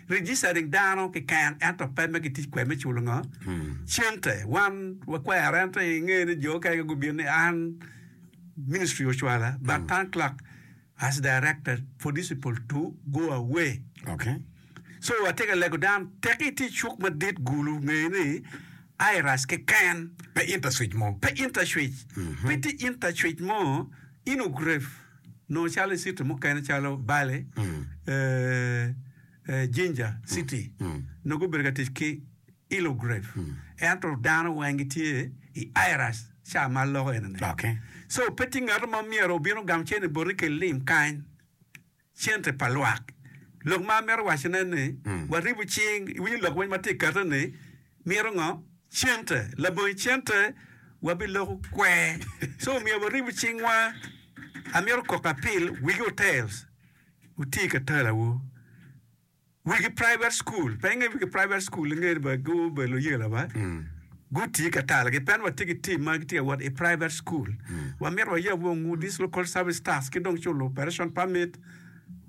Registering dano keken ento pe me gitic kwede me culo ngo? Cente. Wan wakwero ento inge ni jo okene gubino ni an ministry ocwala but town clerk has directed for these people to go away. Okay. So atye ka lego dano teki itye i cuk madit Gulu nge ni IRAS keken. Pe intercwitch mo. Pe intercwitch. Pe tye intercwitch mo inogref nongo calo i city mukene calo Bale, Jinja city nongo gubedo ka tic ki ilogref ento dano weng gitye i IRAS ca ma aloko eni-ni. So pe tye ngat mo myero obin ogam cente boti kel lim kany. Cente pa lwak. Lok ma amito wacone ni, waribo cing, iwinyo lok weny ma tye ka kette ni, mito ngo? Cente. Labongo cente, wabiloko kwer. So omyero waribo cingwa. Amito koko apil, wigi hotels, wuti ka talawu. Wigi private school, pe inge wigi private school inge ni ba gubedo luyela ba, guti ka talagi pien watye ki team ma gitye ka wot i private school. Wamito wayab wongu this local service tax ki dong culo operation permit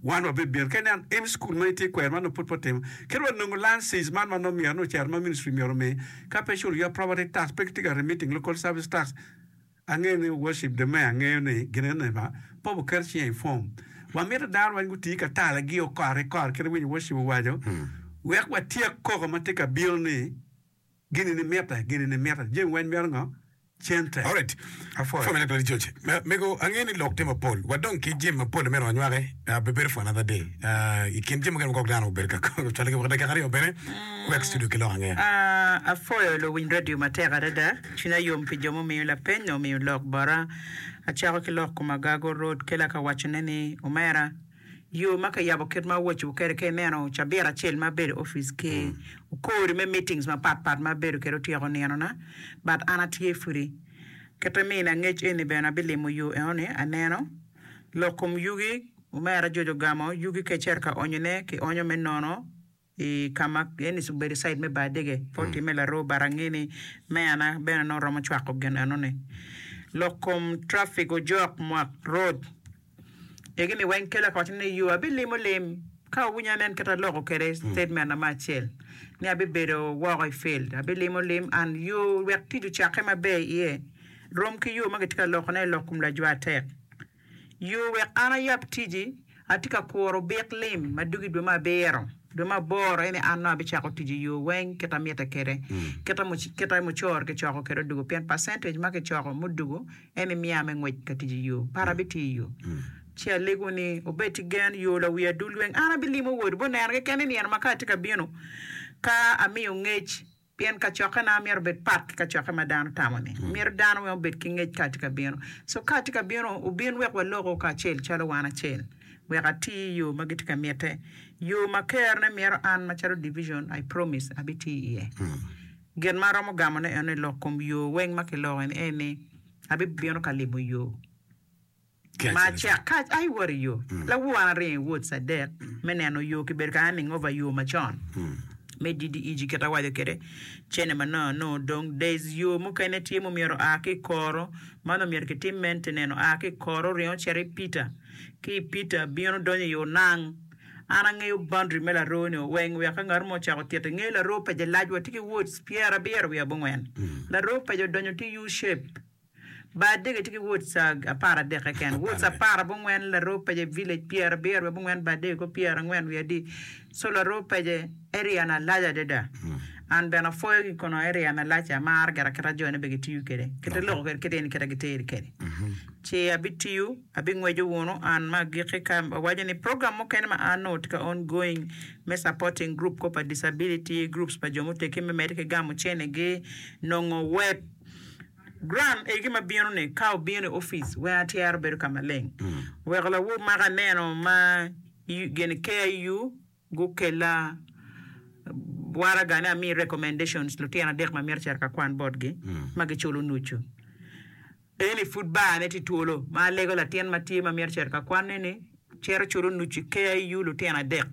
wan wabibino. Ka ineno any school ma itye kwede ma nongo pud pe otimo, kadi wa nongo license man ma nongo myero nongo ocito ma ministry myero omi, ka pe iculo your property tax pe gitye ka remitting local service tax. Angeyo ni worship the mayor angeyo ni gin ene ba pe wuket cinge i form. Wamito dano weng guti ka tala gi okore kore kit ma winyo worship owaco wek watyek koko ma tye ka bino ni gini ni mitte gini ni mitte jami weng mito ngo cente. Alright. Apwoyo. Pwony me George. Mego angeyo ni lok tye mapol. Wadong ki jami mapol ma myero wanywaki. Uh, bibedo for another day. Uh, I kin jami mukene ma kok dano obedo ka cwalo ki woko dakika aryo bene wek studio ki lok angeya. Uh, apwoyo luwiny radio matek adada. Cwinya yom pi jo mumiyo lapeny nyo omiyo lok bota. Acako ki lok kom Agago Road kela ka wacone ni, Omera, yo ma kiyabo kit ma awacowu kwede ka ineno cabit acel ma abedo i opic ki okori me meetings mapat pat ma abedo kwede otyeko ninona but an atye pudi. Kite mina ngec eni bene abilimo yo enoni aneno. Lok kom yugi, omera George ogamo yugi ka icito ka onyone ki onyo me nono. I ka ma eni obedo cite me bar dege pe otimme laroo but ange ni meyana bene nongo romo cwako gin eno ni. Lok kom traffic ojok mwak road egi ni weng kelo ka waco ni yo abilimo lim ka owinyo anen kit aloko kwede statement na me acel ni abibedo woko i field abilimo lim and yo wek tic ocakke maber iye rom ki yo ma gitye ka loko ne lok kom lajwa tek. Yo wek an ayab ticci, atye ka kuro bik lim ma dugo i dwe me abiro, dwe me aboro eni an nongo abicako tic i yo weng kit amite kwede, kit mucoro kicoko kwede odugo pien percentage ma kicoko mudugo en imiya me ngwec ka tic i yo par abitiyo i yo. Ci alego ni wubed ki gen yo lawi adul weng an abilimo wod wubineno keken ni nino ma ka atye ka bino ka amiyo ngec Pien kacokkena myero obed pat ki kacokke ma dano tamo-ni. Myero dano weng obed ki ngec ka atye ka bino. So ka atye ka bino, wubin wek waloko kacel calo wan acel, wek ati i yo ma gitye ka mitte. Yo ma kerone mito an macalo division, I promise, abitiyo iye. Gin ma aromo gamone eno ni lok kom yo weng ma kiloko eni en ni abibino ka limo yo. Ma cek ka a iwoto i yo, lawor an aringo i Woods adek me neno yo kibedo ka handing over yo macon me DDEG kit awaco kwede cene ma nongo anongo dong there's yo mukene tye ma myero oa ki i koro ma onongo myero kitim maintenance oa ki i koro oringo ocito i Peter ki i Peter bino donyo i Onang an angeyo boundary me laroo ni weng wek ka ngat mo ocako tito inge laroo peje lac watye ki Woods pyerabiro wiye abongwen laroo peje odonyo tye U shape. Bar adek tye ki wards aparadek keken. Wards aparabongwen laroo pece village pyerabiro wiye abongwen bar adek ko pyerangwen wiye adi. So laroo pece area na lac adada. An bene apwoyo ki kono area na lac amaro gira kita jo ne bene gitiyo kwede. Kite loko kwede kite eni kita giteri kwede. Ci abitiyo abingweco wunu an ma agiki ka awaco ni program mukene ma an nongo tye ka on going me supporting group ko pa disability groups pa jo muteggi me mede ki gamo cene gi nongo web Grant egi ma bino ni ka obino i opic weng atyero bedo ka maleng weko lawor maka aneno ma gin KIU gukella waraga ni ami recommendations lutino adek ma mito cito ka kwan botgi ma giculo nucu eni pud bar ne tye twolo ma alego latin ma tye ma mito cito ka kwan ne ni cito culo nucu i KIU lutino adek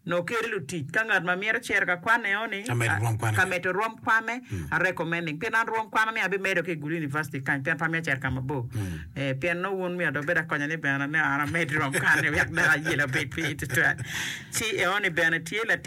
Nongo keri lutic ka ngat ma mito cito ka kwan eo ni ka medo rwom kwane a recommending pien an rwom kwana ni abimedo ki i Gulu University kany pien pe amito cito ka mabor pien nongo wun myero dong wubed akonya ni bene nongo an amed rwom kwan ni wek dok ayela obed piny tutwal ci eo ni bene tye latin.